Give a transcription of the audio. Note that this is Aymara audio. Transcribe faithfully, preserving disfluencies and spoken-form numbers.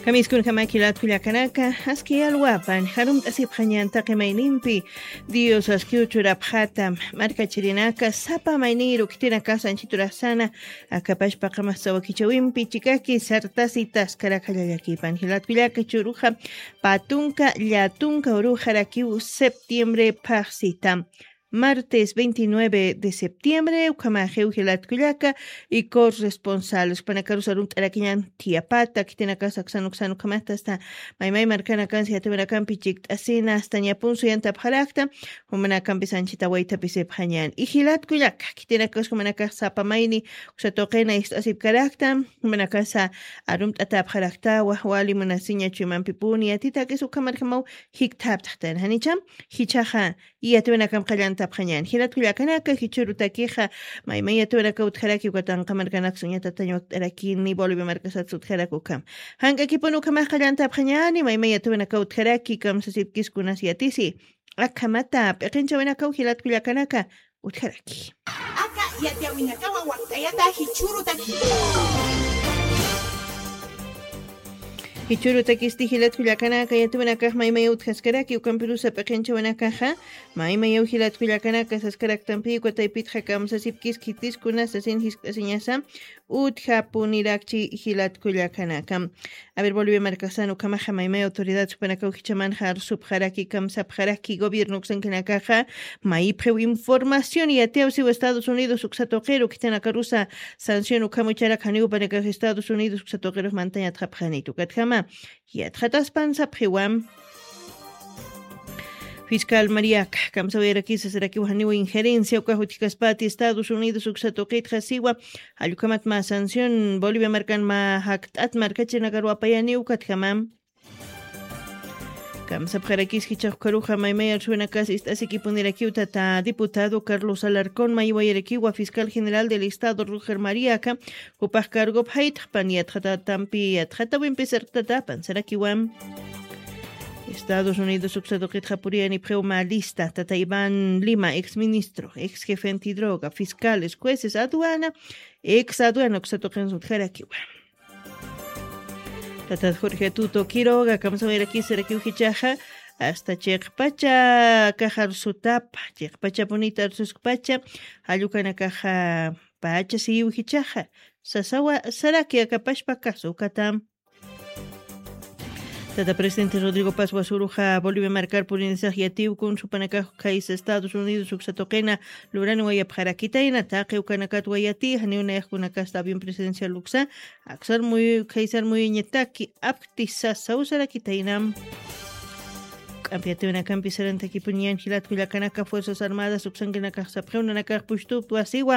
Kamiskunjamaki latkullakanaka, aski alwapan jarumt'asipxañan taqi maynimpi, Dios askiw churapxata, markachirinaka sapa mayniru khitinakasa anchiturasana, akapashpaqa mas sawakichawimpi chikaki sartasitas karakhallallakipan jilatkullaka churuxa, patunka llatunka uruxarakiw septiembre phaxsita. Martes veintinueve de septiembre, ukhamaxiw jilatkullaka, y corresponsables, panakarusa rumt'arakiñan tiapata, khitinakasa aksanuksan ukhamata hasta maymay markanakansi yatiwanakampi chikt'asina, hasta ñapunsu yantapxarakta, jumanakampis anchita waytapisipxañan. Y jilatkullaka, khitinakas jumanakax sapa mayni, uksatuqina ist'asipkarakta, jumanakasa arumt'atapxarakta, wajwali munasiña chuymampipuni, yatitakis ukhamarjamaw jikthaptxtan, janicham, jichhaxa, yatiwinakam qallantapxañan. Jilatkullakanaka, jichhürutakixa, maymay yatiwinaka utjaraki, ukatanqa markanaksa uñatatañ wakt'arakini, Bolivia markasatsa utjarak ukham. Jank'akipun ukhamax qallantapxañani, maymay yatiwinaka utjaraki, kamsasipkis kunas yatisi. Akhamata, p'iqinchawinakaw jilatkullakanaka, utjaraki. Aka yatiwinakawa wakt'ayata jichhürutaki. Jichhürutakisti jilatkullakanaka, yatiwinakax maymay utjaskaraki, ukampirusa p'iqinchawinakaxa, maymayaw jilatkullakanaka saskaraktampi, uka taypitxa kamsasipkis khitis kunas sasin jiskt'asiñasa, utjapunirakchi jilatkullakanaka. A ver, Bolivia markasan ukhamaxa maymay autoridad supanakaw jichhamanxa arsupxaraki, kamsapxaraki, gobierno uksankinakaxa, mayipxiw información yatiyaw siwa Estados Unidos uksa tuqiru, khitinakarusa sanción ukham ucharak janiw upanakax Estados Unidos uksa tuqirux mantañ yatxapxanitu. Ukatjama, yatxataspan sapxiwam. Fiscal Mariaca, kamsawayarakisa sarakiw janiw injerencia ukax utjkaspati Estados Unidos uksa tuqitxa siwa, jallukhamat mä sanción Bolivia markan mä jakt'at markachirinakaru apayani ukatjamam. Kamsapxarakis jichhax ukharuxa maymay arsuwinakas ist'asikipunirakiw tata diputado Carlos Alarcón, maywayarakiwa fiscal general del Estado Roger Mariaca, jupax cargop jaytxpan yatxatatampi yatxatawimpi sarktatapan sarakiwam. Estados Unidos uksa tuqitxa puriyanipxiw mä lista, tata Iván Lima, ex ministro, ex jefe antidroga, fiscales, jueces, aduana, ex aduana uksa tuqinsa utjarakiwa. Tata Jorge Tuto Quiroga, kamsawayarakisarakiw jichhaxa, hasta chiqpacha kaxarsutapa, chiqpachapunita arsuskpacha, jallukanakaxa pacha siyiw jichhaxa, sasawa saraki akapashpa kasukatam. Tata presidente Rodrigo Paz Wasuruxa Bolivia markar purinisax yatiw kunsupanakax khaysa Estados Unidos uksa tuqina lurani wayapxarakitayna, taqi ukanakat wayati, janiw nayaxkunakasta avión presidencial uksa, aksar muy, khaysar muyuñataki, apkti sasaw sarakitaynam. K'ampi yatiwinakampi sarantakipuñan jilatkullakanaka Fuerzas Armadas uksankinakax sapxiw nanakax pushtupt wasiwa,